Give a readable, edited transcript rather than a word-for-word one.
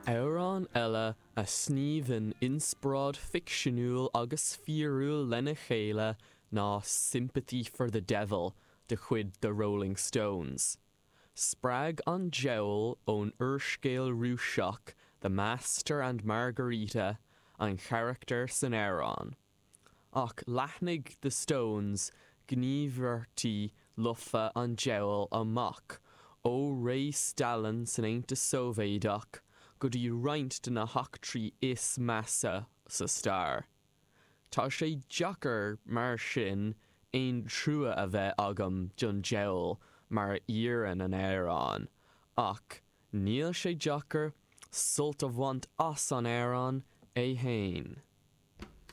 Amhrán eile a shníomhann inspioráid ficseanúil agus fíorúil lena chéile ná Sympathy for the Devil de chuid The Rolling Stones. Spreag an diabhal ón úrscéal Rúiseach The Master and Margarita an charachtar san amhrán. Ach leathnaigh The Stones gníomharthaí lofa an diabhail amach ó ré Stalin san Aontas Sóivéadach go dtí roinnt de na heachtraí is measa sa stair. Tá sé deacair mar sin aon trua a bheith agam don diabhal mar a iarrann an amhrán, ach níl sé deacair sult a bhaint as an amhrán é fhéin.